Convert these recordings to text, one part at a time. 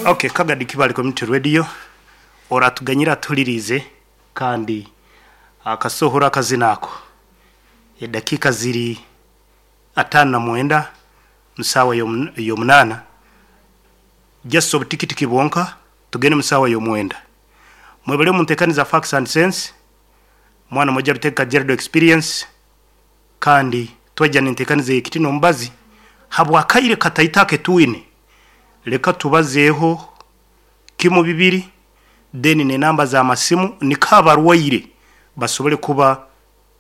Okay, Kagadi Kibale Community Radio oratuganyira atuhuliriize kandi akasohora akazina ako edakiika ziri atano na mwenda mu saawa y'omunaana just obutikitiki bwonka tugende mu saawa y'omwenda. Mwebale omu nteekaniza Facts and Sense, mwana moja Bitega Gerald Experience kandi twaija n'enteekaniza ey'ekiti n'omubazi habw'akaire kataito aketwine leka tubazeeho kimu bibiri then n'enamba z'amasimu niko abarwaire basobole kuba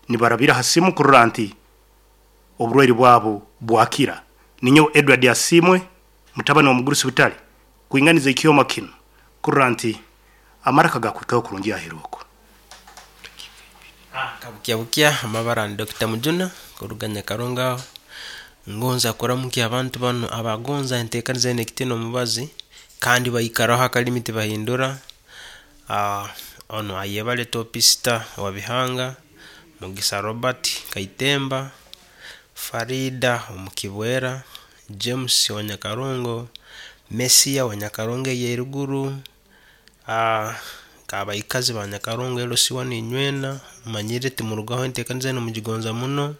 nibarabira ha simu kurora nti oburwaire bwabo bwakira. Ninyowe Edward Asiimwe mutabani wa Mugurusi Butare kwinganiza ekyoma kinu kurora nti amaraka gakuhikaho kurungi aheeru oku. Kabukya bukya amabara ni Dokita Mujuna kuruga Nyakarongo aho. Ngonza kuramukya abantu banu abagonza entekaniza enu ekitino omubazi kandi baikaraho akalimi tibahindura. Onu Ayebare Topisita owa Bihanga, Mugisa Robert Kaitemba, Farida omu Kibwera, James owa Nyakarongo, Mesiya owa Nyakarongo ey'eruguru, nk'abaikazi ba Nyakarongo LC1 inywena manyire timurugaho entekaniza enu mugigonza muno.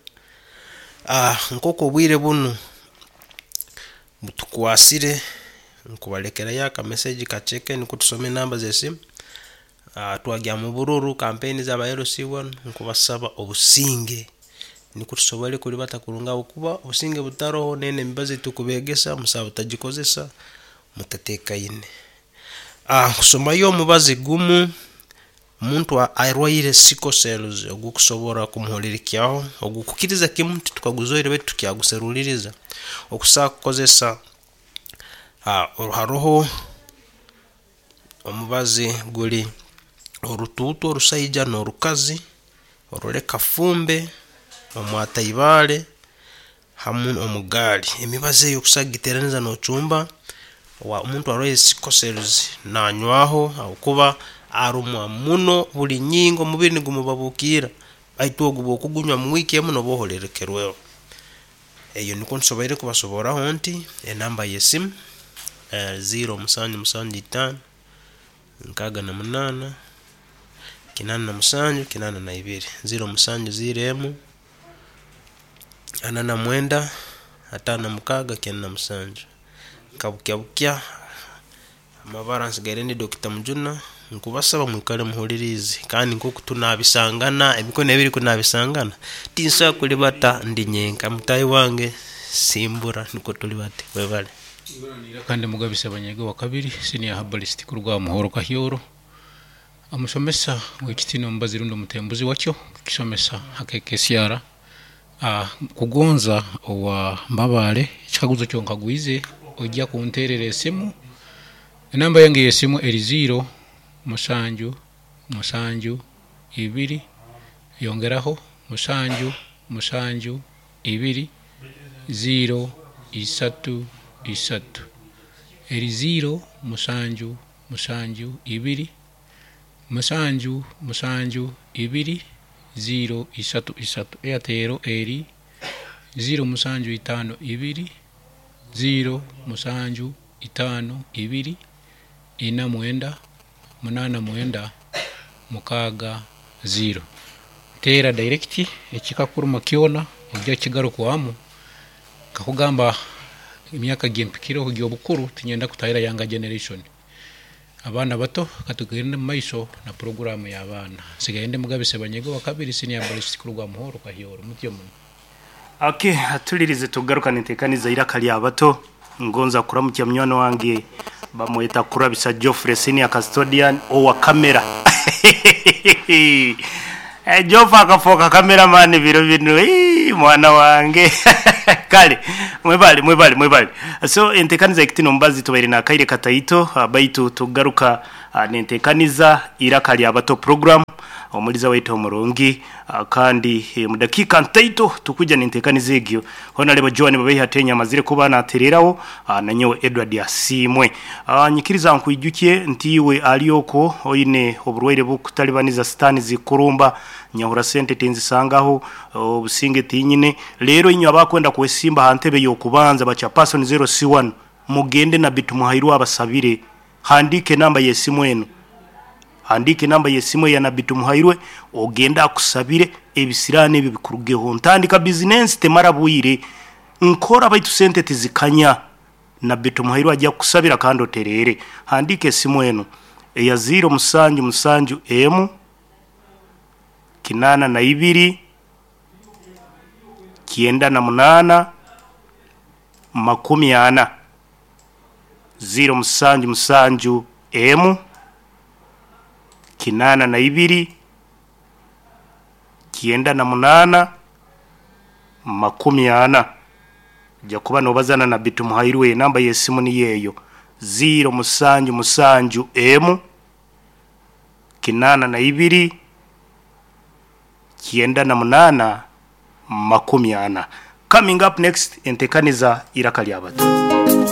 Nk'oku obwire bunu butukwasire nkubalekerayo akameseji kaceke nukwo tusome enamba z'esimu. Twagya mu bururu kampeyini z'aba LC1 nkubasaba obusinge nukwo tusobole kulibata kurungi habwokuba obusinge butaroho n'enu emibazi eitukubeegesa musobora butagikozesa mutateekaine. Nkusomayo omubazi gumu omuntu arwaire sickle cells ogukusobora kumuhulirikyaho ogukukiriza kimu titukaguzoire baitu tukyaguseruliriza okusobora kukozesa haroho omubazi guli orutuutu orusaija n'orukazi, orole kafumbe, omwataibaale hamu n'omugaali. Emibazi eyo okusobora kugiteeraniza noocumba, omuntu arwaire sickle cells naanywaho habwokuba arumwa muno buli nyingo omubiri nigumubabuukirra baitu ogu obu okugunywa mu wiiki emu nooba ohuliirikerweho. Eyo nikwo nsoboire kubasoborraho nti enamba y'esimu ziiro musanju musanju itaano, 68, 87, 82, ziiro musanju ziiro emu, 49, 56, 97. Nkabukya bukya amabara nsigaire ndi Dokita Mujuna, nkubasaba mwikale muhuliriize kandi nkoku tunabisangana emikono ebiri kunabisangana, tinsobola kulibata ndi nyenka mutaahi wange simbura nukwo tulibate. Webale. Kandi Mugabi Ssebanyege owakabiri Senior Herbalist kuruga aha Muhoro Kahyoro, omusomesa w'ekitini omubazi rundi omutembuzi wakyo kukisomesa ha KKCR. Kugonza owa Mbabale ekikaguzo kyonkagwize oija kunterera esimu. Enamba yange ey'esimu eri ziiro musanju musanju ibiri yongeraho musanju musanju ibiri ziiro isatu isatu. Eri ziiro musanju musanju ibiri musanju musanju ibiri ziiro isatu isatu. Airtel eri ziiro musanju itaano ibiri ziiro musanju itaano ibiri ina mwenda munaana mwenda mukaaga ziiro. Teera direct ekikakuruma kyona oija kukigarukwamu. Nkakugamba emyaka gyempikireho egy'obukuru tinyenda kutahira younger generation. Abaana bato katugende omu maiso na puroguraamu y'abaana. Nsigaire ndi Mugabe Ssebanyega owakabiri Senior Herbalist kuruga Muhoro Kahyoro. Mutyo muno. Ok, atulirize tugaruka nintekaniza eiraka lya bato. Ngonza kuramukya munywani wange bamweta Kurabisa Geoffrey Senior Custodian owa camera. Geoff akafooka cameraman biro binu ii mwana wange. Kale mwebale mwebale mwebale. So entekaniza ekitino omubazi tubaire nakaire kataito baitu tugaruka nentekaniza eiraka lya bato program omuliza waitu omurungi. Kandi omu dakiika ntaito tukwija nenteekaniza egyo. Honarebo Joan Babeiha Ateenyi amazire kuba natereeraho nanyowe Edward Asiimwe. Nyikiriza nkwijukye nti iwe ari okwo oine oburwaire bukutalibaniza sitaani zikurumba, nyahura sente tinzisangaho, obusinge tinyine. Reero inywe abakwenda kwesimba aha ntebe y'okubanza ba chairperson LC1 mugende na Bitumuhairwe abasabire. Handiika enamba y'esimu enu. Handiika enamba y'esimu eya Nabbi Tumuhairwe ogende akusabire ebisiraani ebyo bikurugeho. Ntandika bizinensi temara bwire. Nkora baitu sente tizikanya. Nabbi Tumuhairwe aja kukusabira kandi otereere. Handiika esimu enu eya ziiro musanju musanju emu, kinaana na ibiri, 98, 40. 0 7 7 82 98 40. Oja kuba nobaza na Nabbi Tumuhairwe, enamba y'esimu niyo eyo, 0 7 7 82 98 40. Coming up next, entekaniza Iraka Lya Bato.